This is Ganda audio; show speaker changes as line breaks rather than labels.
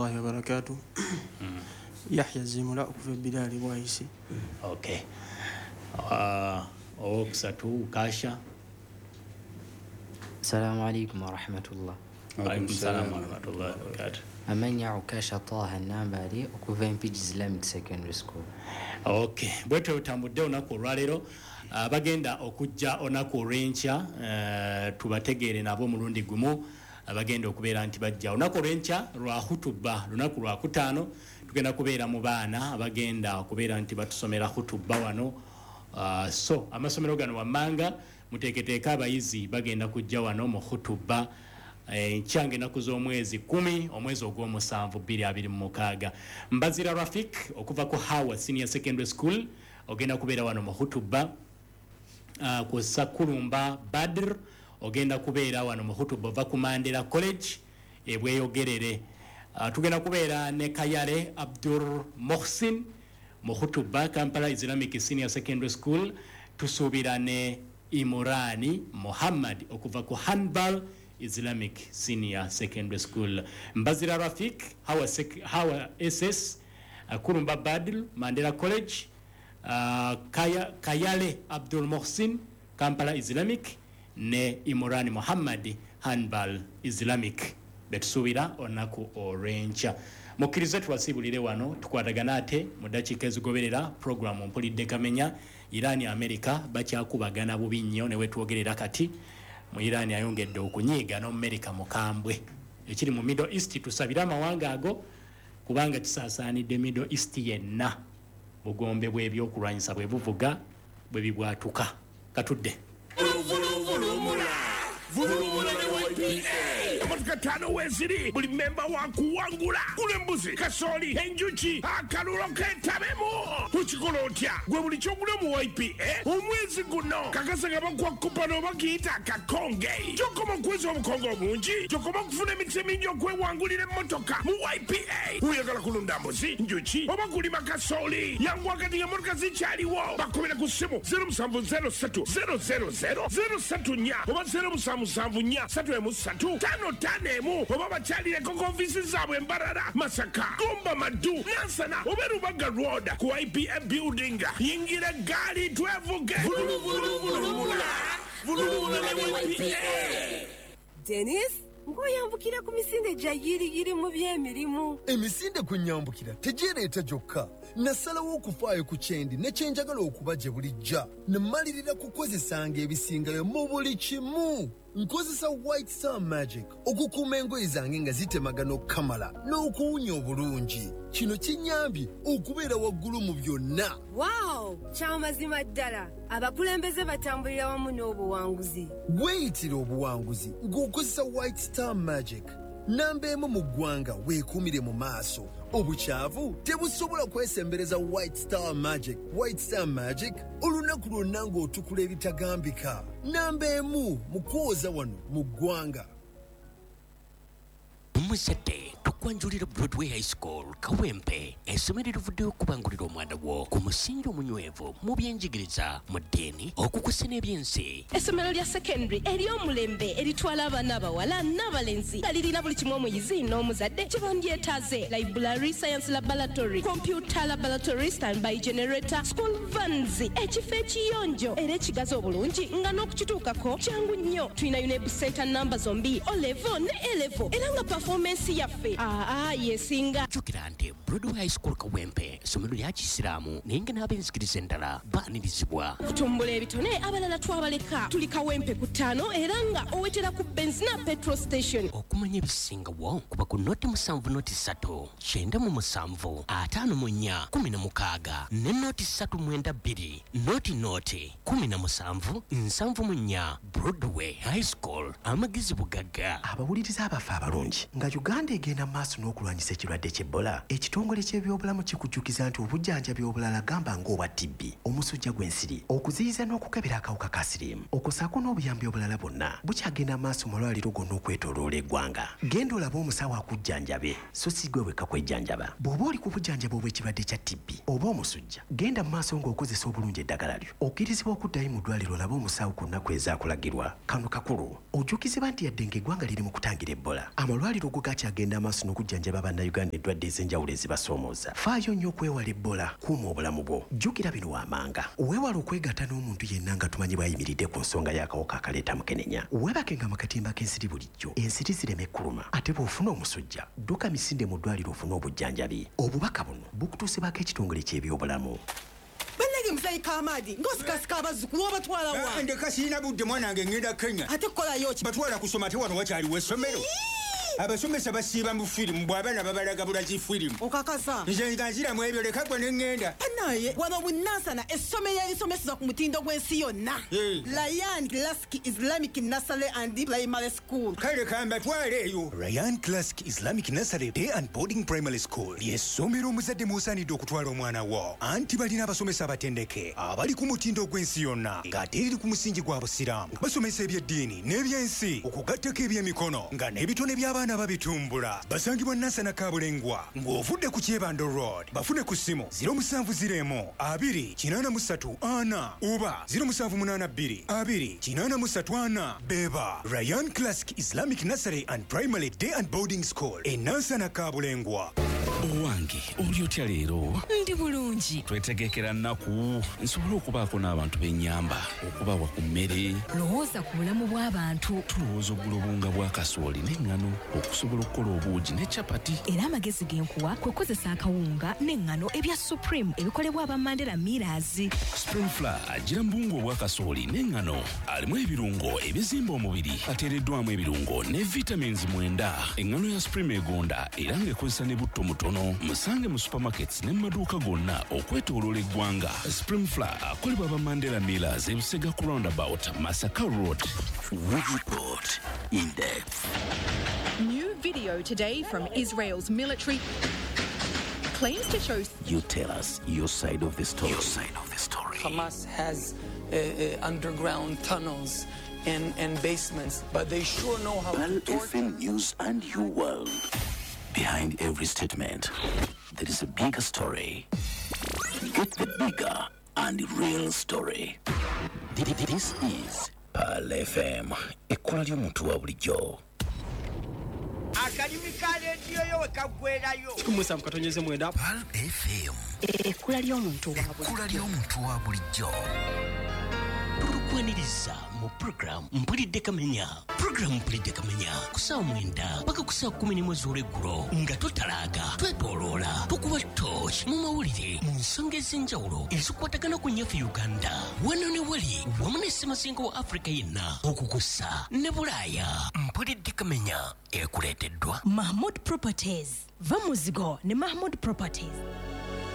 Warahmatullahi wabarakatuh. Yahya Zimula okuva Bilali Bwaisi.
Okay. Owokusatu Kasha.
Assalamu alaikum warahmatullah.
Alaikum salam warahmatullahi wabarakatuh.
Amanya Ukasha Taha Nambali okuva Mpigi Islamic Secondary School.
Okay, bwetyo tutambudde olunaku olwaleero. Bagenda okujja olunaku olw'enkya, tubategeere nabo omulundi gumu. Bagenda okubeera nti bajja olunaku olw'enkya lwa hutuba, lunaku lwa kutaano. Tugenda kubeera mu baana abagenda okubeera nti batusomera hutuba wano. So amasomero gano wammanga muteeketeeke abayizi bagenda kujja wano mu hutuba enkya ng'ennaku z'omwezi 10 omwezi ogw'omusanvu 2026. Mbazira Rafik okuva ku Hawa Senior Secondary School ogenda kubeera wano mu hutuba. Ku Sakulumba Badr ogenda kubeera wano mu hutuba ova ku Mandela College ebweyogerere. Tugenda kubeera ne Kayale Abdur Mohsin mu hutuba Kampala Islamic Senior Secondary School. Tusuubira ne Imurani Muhammad okuva ku Hanbal Islamic Senior Secondary School. Mbazira Rafik, Hawa, Hawa SS, Kurumba Badl, Mandela College, Kayale Abdul Mohsin, Kampala Islamic, ne Imurani Muhammad, Hanbal Islamic. Betusuubira olunaku olw'enkya. Mukkirize tubasiibulire wano, tukwatagana ate mu ddakiika ezigoberera programu Mpulidde Kamenya. Iran America bakyakubagana bubi nnyo ne wetwogerera kati. Mu Iran ayongedde okunyiiga n'Omumerika mukambwe. Ekiri mu Middle East tusabire amawanga ago kubanga kisaasaanidde Middle East yenna. Bugombe bw'ebyokulwanyisa bwe buvuga bwe bibwatuka. Katudde.
Emotoka ttaano weeziri, buli memba wa kuwangula. Gula embuzi, kasooli, enjuki, akalulo ketabemu. Okikola otya? Gwe buli kyogula mu YPA omwezi guno kakasa nga bakuwa kupano oba kiyita akakonge. Gyokoma okuweza obukonge obungi, gyokoma okufuna emikisa emingi okwewangulira emmotoka mu YPA. Oyagala kulunda mbuzi, njuki oba kulima kasooli, yanguwa kati ng'emmotoka zikyaliwo. Bakubira ku ssimu 0703 000 034 oba 0774 313 51 oba bakyalireko ku ofiisi zaabwe Mbarara, Masaka, Gomba, Maddu, Nansana oba Rubaga Road ku IPA building. Yingira eggaali twevuge.
Denis, ng'oyambukira ku misinde gya yiriyiri mu by'emirimu.
Emisinde kwe nnyambukira tegyereeta gyokka. Nasalawo okufaayo ku kyendi ne kye njagala okuba gye bulijja. Ne mmalirira kukozesanga ebisingayo mu buli kimu. Nkozesa White Star Magic okukuuma engoye zange nga zitemagana okukamala n'okuwunya obulungi. Kino kinnyambye okubeera waggulu mu byonna.
Wow! Kya mazima ddala abakulembeze batambulira wamu n'obuwanguzi.
Weeyitire obuwanguzi ng'okozesa White Star Magic. Namba emu mu ggwanga weekuumire mu maaso. Obukyafu tebusobola kwesembereza White Star Magic. White Star Magic olunaku lwonna ng'otukula ebitagambika. Namba emu mu kwoza wano mu ggwanga.
Omuzadde, tukwanjulira Broadway High School Kawempe, essomero erivuddeyo okubangulira omwana wo ku musingi omunywevu mu byenjigiriza, mu ddiini, okukusa n'ebyensi.
Essomero lya secondary ery'omulembe eritwala abaana abawala n'abalenzi nga lirina buli kimu omuyizi n'omuzadde kye bandyetaaze: library, science laboratory, computer laboratory, standby generator, school vans, ekifo ekiyonjo era ekigazi obulungi nga n'okukituukako kyangu nnyo. Tulina UNEB center namba zombi, O level ne A level, era nga performance yaffe aa yesinga.
Jjukira nti Broadway High School Kawempe essomero lya Kisiraamu, naye nga n'ab'enzikiriza endala baanirizibwa.
Okutumbula ebitone abalala twabaleka. Tuli Kawempe ku ttaano era nga owetera ku Benzina petrol station.
Okumanya ebisingawo kuba ku 070 03 97 54 16 ne 0 392 00 17 74. Broadway High School, amagezi bugagga.
Abawuliriza abaffe abalungi, nga Uganda egenda mu maaso n'okulwanyisa ekirwadde ky'Ebola, ekitongole ky'ebyo ky'ebyobulamu kikujjukiza nti obujjanjabi obulala gamba ng'obwa TB, omusujja gw'ensiri, okuziyiza n'okukebera akawuka ka siriimu, okussaako n'obuyambi obulala bwonna bukyagenda maaso mu malwaliro gonna okwetooloola eggwanga. Genda olabe omusawo akujjanjabe, so si gwe wekka kwejjanjaba. Bw'oba oli ku bujjanjabi obw'ekirwadde kya TB oba omusujja, genda mu maaso ng'okozesa obulungi eddagala lyo. Okkirizibwa okuddayo mu ddwaliro olabe omusawo ku nnaku ezaakulagirwa. Kano kakulu. Ojjukizibwa nti yadde ng'eggwanga liri mu kutangira Ebola, amalwaliro go gakyagenda maaso n'okujjanjaba Bannayuganda endwadde ez'enjawulo ezibasoomooza. Faayo nnyo okwewala Ebola, kuuma obulamu bwo. Jjukira bino wammanga. Weewale okwegatta n'omuntu yenna nga tumanyi bw'ayimiridde ku nsonga y'akawuka akaleeta mukenenya. Weebakenga mu katimba k'ensiri bulijjo, ensiri zireme kukuluma. Ate bw'ofuna omusujja, dduka misinde mu ddwaliro ofune obujjanjabi. Obubaka buno bukutuusibwako ekitongole ky'ebyobulamu.
Bannange, muzeeyi Kamaadi, ng'osikasika abazzukulu, obatwala wa?
Ndeka, sirina budde, mwana wange, ngenda Kenya.
Ate kukolayo ki?
Batwala kusoma, ate wano wakyaliwo essomero? Abasomesa basiiba mu firimu, bw'abaana babalaga bulazi firimu.
Okakasa?
Nze nga nziramu ebyo, leka gwe ne ŋŋenda.
Banaye, wano Bunansana, essomero erisomeseza ku mutindo gw'ensi yonna, Ryan Classic Islamic Nursery and Primary School.
Kale kambatwale eyo.
Ryan Classic Islamic Nursery Day and Boarding Primary School ly'essomero omuzadde mw'osaanidde okutwala omwana wo, anti balina abasomesa abatendeke abali ku mutindo gw'ensi yonna, ng'ate eriri ku musingi gwa Busiraamu. Basomesa ebyeddiini n'ebyensi, okugattako ebyemikono, nga n'ebitone by'abaana babitumbula. Basangibwa Nansana Kabulengwa ng'ovudde ku Kyebando Road. Bafune ku ssimu 0701 2 83 4 oba 0782 2 83 4. Beba Ryan Classic Islamic Nursery and Primary Day and Boarding School e Nansana Kabulengwa.
Owange, oli otya leero?
Ndi bulungi.
Twetegekera nnaku nsobole okubaako n'abantu b'ennyamba okubawa ku mmere.
Lowooza ku bulamu bw'abantu.
Tulowooza ogula obuwunga bwa kasooli n'eŋŋano okusobola okukola obuugi ne capati.
Era amagezi ge nkuwa kwe kukozesa akawunga n'eŋŋano ebya Supreme ebikolebwa aba Mandela Millers.
Supreme Flour agira mu buwunga obwa kasooli n'eŋŋano, alimu ebirungo ebizimba omubiri, ateereddwamu ebirungo ne vitamins 9. Eŋŋano ya Supreme egonda era ng'ekozesa ne butto mutono. Musange mu supermarkets ne mu maduuka gonna okwetooloola eggwanga. Supreme Flour akolebwa aba Mandela Millers, Ebusega ku roundabout, Masaka Road.
We report in depth.
New video today from Israel's military claims to show
You tell us your side of the story. Your side of the story.
Hamas has underground tunnels and basements, but they sure know how
Pearl
to torture.
FM News and Your World. Behind every statement, there is a bigger story. Get the bigger and real story. This is Pearl FM. Ekkola ly'omuntu wa bulijjo.
Akalimi ka rediyo yo we kaggwerayo.
17.9.
Pearl FM.
Ekkula ly'omuntu wa
Ekkula ly'omuntu wa bulijjo. Tukwaniriza mu puroguramu Mpulidde Kamenya. Puroguramu Mpulidde Kamenya ku ssaawa 9 paka ku ssaawa 11 z'olweggulo, nga totalaaga, twetooloola, tukuba torch mu mawulire mu nsonga ez'enjawulo ezikwatagana ku nnyaffe Uganda, wano ne wali, wamu ne ssemazinga wa Afrika yenna, okukussa ne Bulaaya. Mpulidde Kamenya ekuleeteddwa
Mahmud Properties. Va muzigo ne Mahmud Properties.